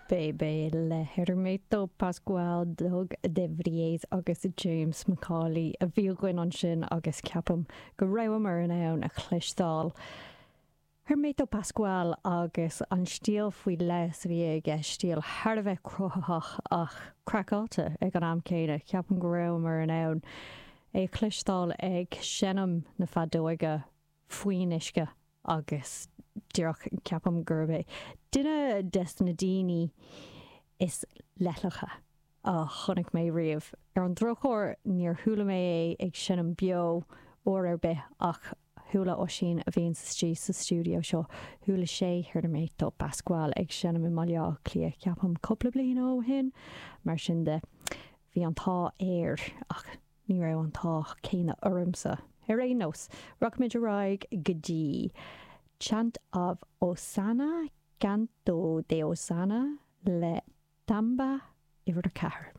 Bebe le Hermeto Pascoal, Doug de Vries agus James McAuley a bhí againn ansin agus ceapaim go rabhamar in ann a chloisteáil Hermeto Pascoal agus an stíl faoi leith a bhí aige, stíl thar a bheith cruthaitheach ach craiceáilte ag an am céanna. Ceapaim go rabhamar in ann é a chloisteáil ag seinm na feadóige faoin uisce agus díreach ceapaim gurb é duine des na daoine is leithleacha a chonaic mé riamh. Ar an drochuair níor chuala mé é ag seinm beo uair ar bith ach chuala Oisín a bhíonns istigh sa stiúideo seo, chuala sé Hermeto Pascoal ag seinm i mBaile Átha Cliath ceapaim cúpla bliain ó shin. Mar sin de bhí an t-ádh air ach Ní raibh an t-ádh céanna ormsa. Ar aon nós, rachaimid ar aghaidh go dtí Chant of Hosanna, Canto de Hosanna le Tamba uimhir 4.